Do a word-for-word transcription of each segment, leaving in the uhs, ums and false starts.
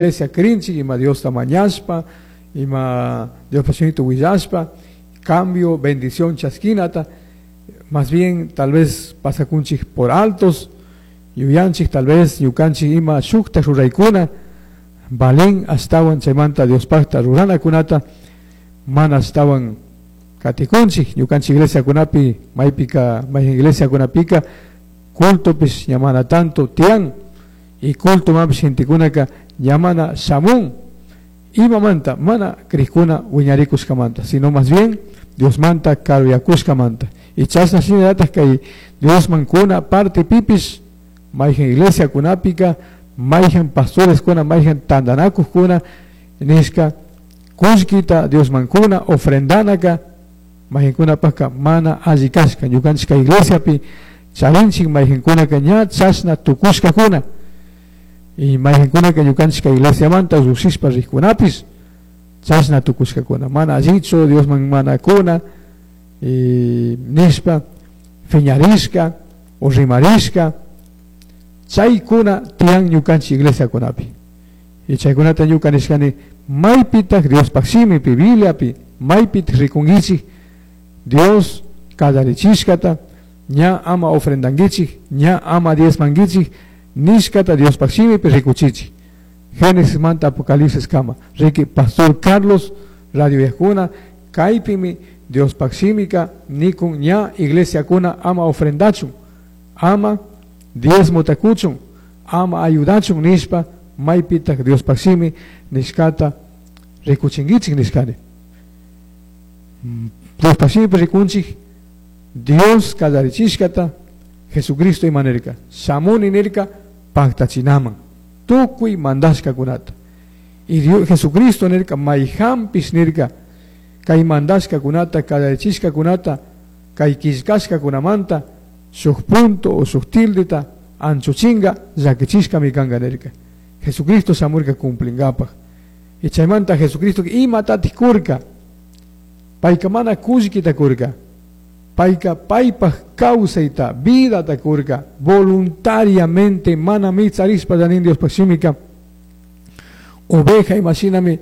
Iglesia crinchik, ima Diosta mañashpa, ima Diospa shimita willashpa, cambio, bendición chasquinata, más bien tal vez pasakunchik por altos, yuyanchik tal vez ñukanchik ima shukta ruraykuna, valen ashtawan chaymanta Diospakta ruranakunata, mana ashtawan katikunchik, ñukanchik iglesiakunapi, maypika, mayjin iglesiakunapika, cultopish ña mana tanto tiyan, y cultomanpish gentekunaka ña mana shamun, imamanta mana crijkuna wiñarikushkamanta, sino más bien Diosmanta karuyakushkamanta. Y chashna shinallatak kay Diosman kuna parte pipish, mayjin iglesiakunapika, mayjin pastoreskuna, mayjin tantanakukkuna, nishka kullkita Diosman kuna ofrendanaka, mayjinkunapaka mana alli kashka, ñukanchik kay iglesiapi charinchik mayjinkunaka ña chashna tukushkakuna. Y mayjinkunaka ñukanchik kay iglesiamanta llushishpa rijkunapish chashna tukushkakuna, mana allichu Diosman mana kuna, y nishpa fiñarishka o rimarishka, chaykuna tiyan ñukanchik iglesiakunapi. Y chaykunata ñuka nishkani maypitak Diospaj shimipi, Bibliapi, maypitak rikunkichik Dios kallarichishkata, ña ama ofrendankichik, ña ama diezmankichik, nishkata Diospaj shimipi rikuchichik. Génesis manta Apocalipsis kama. Riki Pastor Carlos Radio Yajuna, kaypimi Diospaj shimika nikun ña iglesiakuna ama ofrendachun, ama diezmota kuchun, ama ayudachun nishpa maypitak Diospaj shimi nishkata rikuchinkichik nishkani. Diospaj shimipi rikunchik Dios kallarichishkata Jesucristo ima nirka, shamuni nirka paktachinaman tukuy mandashkakunata. Y Dios, Jesucristo nirka mayjanpish nirka kay mandashkakunata, kallarichishkakunata, kay killkashkakunamanta shuk punto o shuk tildeta anchuchinga llakichishkami kanka nirka. Jesucristo shamurka cumplingapaj. Y chaymanta Jesucristo imatatik kurka, payka mana kullkita kurka, payka paypaj kawsayta, vidata kurka, voluntariamente mana mitsarishpa llanin Diospaj shimika, oveja imashinami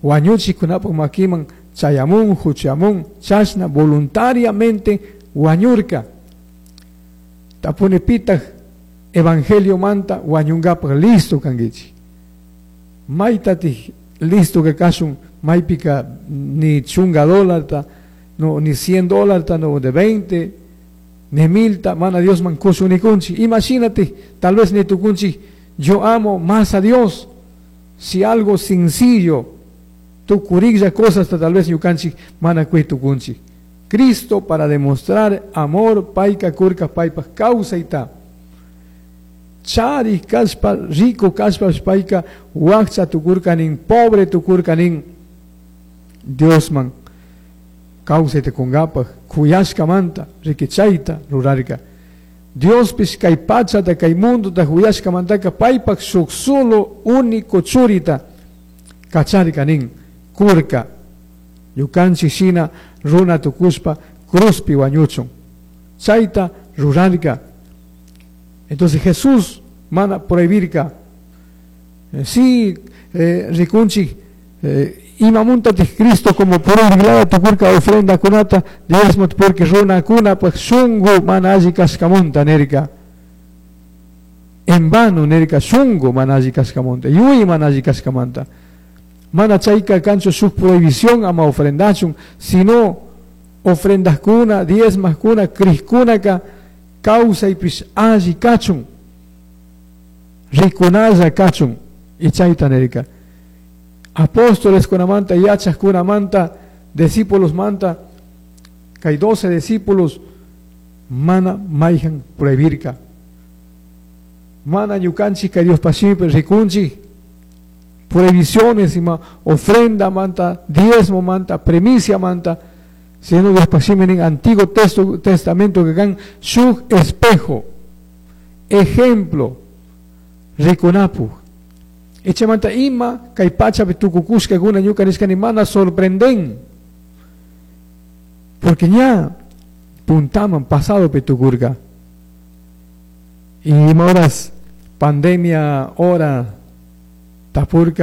wañuchikkunapaj makiman chayamun, huchamun, chashna voluntariamente wañurka. Tapuni pitaj evangelio manta wañunkapaj listo kankichik. Maytatik listo que kashun, maypika ni chunga dólarta, no, ni cien dólarta, no, de veinte, ni milta, mana Dios man kushunikunchik. Imagínate, tal vez ni tukunchik, yo amo más a Dios. Si algo sencillo, tukuriklla cosas, tal vez ñukanchik mana kuy tukunchik. Cristo para demostrar amor, payka kurka paypaj kawsayta. Chari kashpa, rico kashpa payka wakcha tukurkanin, pobre tukurkanin, Diosman kawsayta kunkapaj, kuyashkamanta, rikichayta rurarka. Diospish kay pachata, kay mundota kuyashkamantaka paypaj shuk solo único churita kacharkanin, kurka. Ñukanchik shina runa tukushpa cruzpi wañuchun. Chayta rurarka. Entonces Jesús mana prohibirka. Eh, sí, eh, rikunchik, eh, imamuntatik Cristo como prohibilada tukurka ofrenda kunata, diezmo porque runa kuna, pues shungu mana alli kashkamunta nirka. En vano nirka shungu mana alli kashkamunta, yuy mana alli kashkamanta. Mana chayka kanchu shuk prohibición ama ofrendachun, sino ofrendas kuna, diezmas kuna, crijkunaka, kawsaypish alli kachun, rikunalla kachun, y chayta nirka. Apóstoles kunamanta, yachaj kunamanta, discípulos manta, kay doce discípulos, mana mayjan prohibirka. Mana ñukanchik kay Diospaj shimipi rikunchik, prohibiciones, ima ofrenda manta, diezmo manta, primicia manta, sino Diospaj shimi nin Antiguo Testo, Testamento que kan shuk espejo, ejemplo, rikunapuj. Echamanta ima kay pachapi tukukushkakuna ñuka nishkani mana sorprenden, porque ña puntaman pasado tukurka. Y ima horas pandemia hora Tapurca.